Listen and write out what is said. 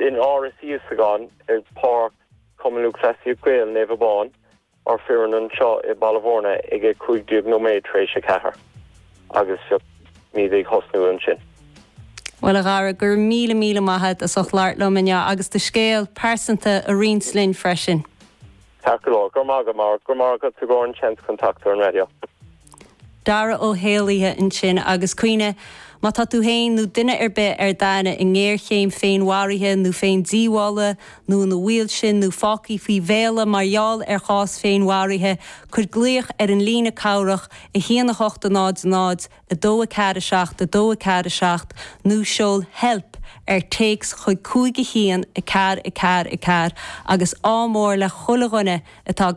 in Áras Íosagáin ar Páirc Chumann Lúthchleasaíocht Gael Naomh Abán, ár foireann anseo i Baile Bhúirne ag 15 nóiméad tar éis a 4 agus beimid ag thosnú ansin. Bhuel, a Dhara, go raibh míle míle maith agat as ucht labhairt liom inniu agus do scéal pearsanta a roinnt linn freisin. Ceart go leor. Go raibh maith agat, Máire. Go raibh maith agat i gcomhair an seans chun teacht ar an raidió. Dara Ó hÉalaithe ansin agus cuimhnigh, má tá tú féin nó duine ar bith ar d'aithne i ngéarchéim féinmharaithe nó féindíobhála nó ina bhaol sin nó fágtha faoi mhéala mar gheall ar chás féinmharaithe, cuir glaoch ar an líne cabhrach 1 8 0 0 2 4 7 2 4 7 nó seol help ar téacs chuig 5 1 4 4 4 agus ádh mór le chuile dhuine atá.